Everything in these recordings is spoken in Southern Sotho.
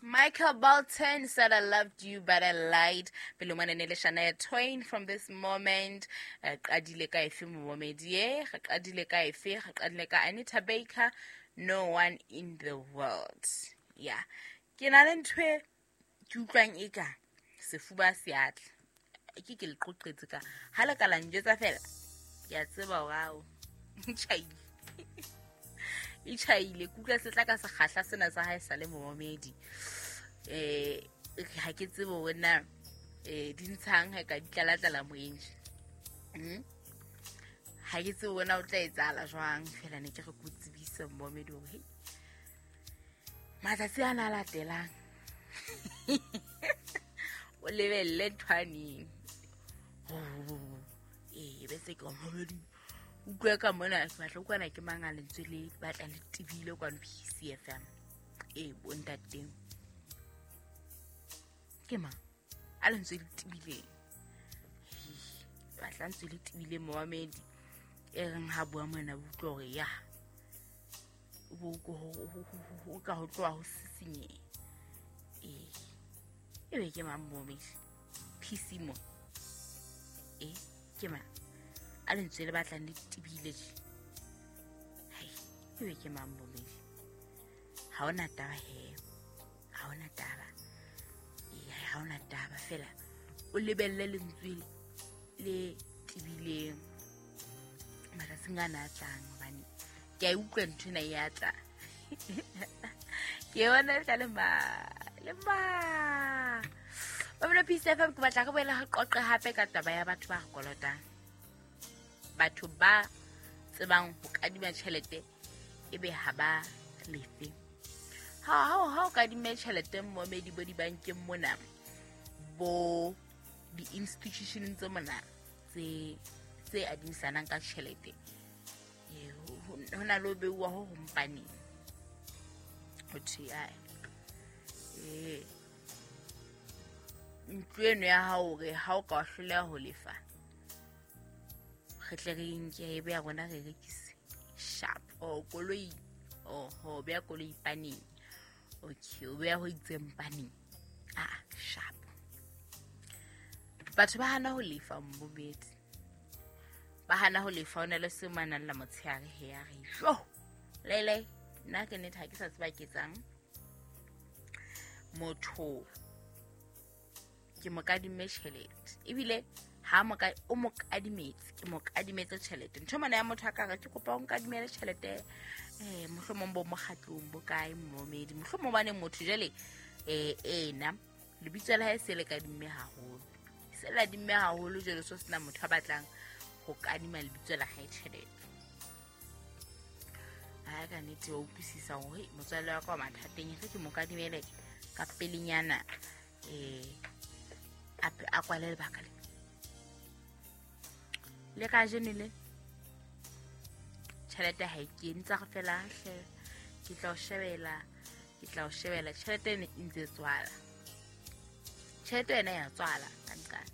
Michael Bolton said, I loved you, but I lied. Pele mona ne le Shania Twain from this moment. Qadile ka efe momedi e, re qadile ka efe, re qadile ka Anita Baker, No One in the World. Yeah. Ke na le ntho e ke utlwang eka sefuba se a tla. Ke le qoqetse ka. Ha le ka la njwetsa fela, ke a tseba hore ao, tjhaile. E tjhaile, ke utlwa se tla ka sekgahla sena sa hae sa le momedi. Ha ke tsebe hore na di ntshang ha ka di tlala-tlala moyeng. Ha ke tsebe hore na o tla etsahala jwang, fela ne ke re ke o tsebise momedi hore hei, matsatsi ana a latelang o lebelle nthwaneng. Be se ke momedi. Utlwe ka mona, ke batla utlwana ke mang a lentswe le batla le tebile kwano PCFM. Bo ntateng. Ke mang a lentswe le tebileng? Batla lentswe le tebileng momamedi. E reng ha bua mona utlwe hore ya bo ho ka ho tloha ho sisinyeha. E be ke mang momamedi? PC mo. Ke mang a lentswe le batlang le tebile tje? Hai, e be ke mang momamedi? Ha hona taba he. Ha hona taba. Ha hona taba fela. O lebelle lentswe le tebileng matsatsing ana a tlang, hobane ke a utlwa ntho ena e a tla. Ke yona e tla le ma, le ma. Babelo Peace FM, ke batla re boele re qoqe hape ka taba ya batho ba re kolotang. Batho ba tsebang ho kadima tjhelete ebe ha ba lefe. Ha o kadime tjhelete momedi bo dibankeng mona, bo di-institutioneng tse mona tse adimisanang ka tjhelete, ho na le ho beuwa ho hompaneng. Ho thwe, ae, ntlo eno ya hao hore ha o ka wa hloleha ho lefa, re tle re nke e be ya rona re rekise. Sharp. O koloi, ho beha koloi paneng. Okay, o beha ho itseng paneng. Sharp. Batho ba hana ho lefa mmobedi. Ba hana ho lefa, o na le se manang la motshehare he ya re, jo, lele, nna ke nnete ha ke sa tseba ke etsang. Motho ke mo kadimme tjhelete. Ebile ha mo o mo kadimetse, ke mo kadimetse tjhelete. Ntho mona ya motho a ka re ke kopa o nkadimele tjhelete, mohlomong bo mokgatlong bo kae momedi. Mohlomong bane motho jwale, ena lebitso la hae se le kadimme haholo. Se le adimme haholo jwale so sena motho a batlang ho kadima lebitso la hae tjhelete. Ha ka nnete wa utlwisisa hore motswalle wa ka wa mathateng, re ke mo kadimele ka pelenyana, a kwale lebaka le. Le kajeno le tjhelete ha e kene, tsa re fela hle, ke tla o shebela, ke tla o shebela. Tjhelete ene e ntse tswala. Tjhelete ena ya tswala ka nqane.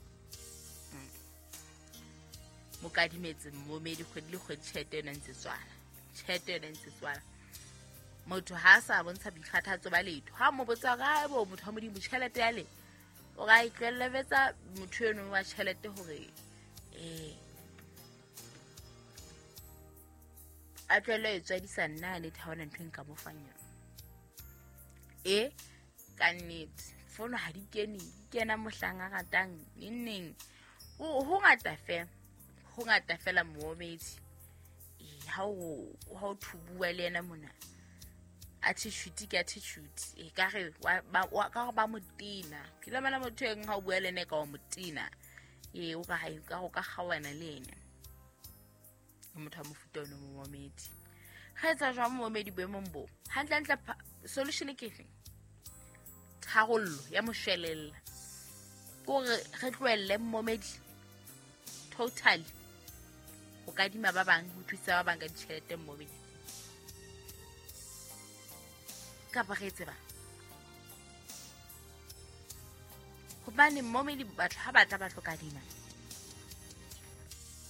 Mo kadimetse momedi kgwedi le kgwedi, tjhelete ena e ntse tswala. Tjhelete ena e ntse tswala. Motho ha a sa bontsha boikgathatso ba letho. Ha mo botsa hore, ha ebo motho wa Modimo, tjhelete ya le, o ra e tlohellebetsa motho eno wa tjhelete hore, a tlohelle e tswadisa nna a nnete, ha hona ntho e nka mo fang yona. Ka nnete, fono ha di kene, di kena mohlang a ratang, neng neng. Ho ngata fela, ho ngata fela moomedi. Ha o thubua le yena mona, attitude ke attitude. Ka re ka re ba motena. Ke la mana motho e ha o bua le ena ka wa motena. O ka hae, ka ho ka kgaohana le ena. Motho wa mofuta ono momedi. Re etsa jwang momedi boemong bo? Hantlentle solution ke efe? Tharollo ya moshwelella. Ke hore re tlohelle momedi totally ho kadima ba bang, ho thusa ba bang ka ditjhelete momedi. Kapa re tseba. Hobane momedi batho ha batla ba tlo kadima,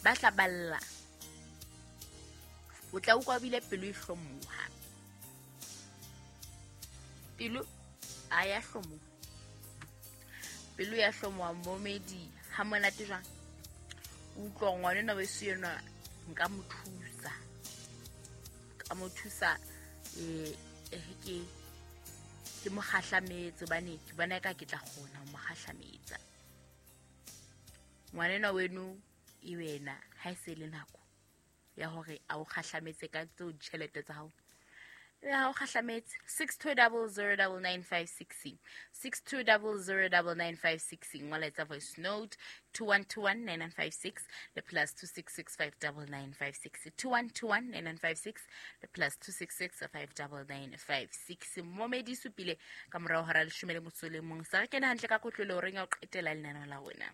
ba tla balla. O tla utlwa bile pelo e hlomoha. Pelo A ya hlomoha, pelo ya hlomoha momedi ha monate jwang. O utlwa ngwanenwa weso enwa nka mo thusa, ka mo thusa ke mo kgahlametse hobane ke bona eka ke tla kgona ho mo kgahlametsa. Ngwanenwa weno e wena ha e se le nako ya hore a o kgahlametse ka tseo ditjhelete tsa hao. Ha o kgahlametse 62009956, 62009956, ngola etsa voice note 21219956 le +266 59956, 21219956 le +266 59956. Momedi supile ka morao hora 11 sa re kene hantle ka kotlolo horeng ya ho qetela lenaneo la rona.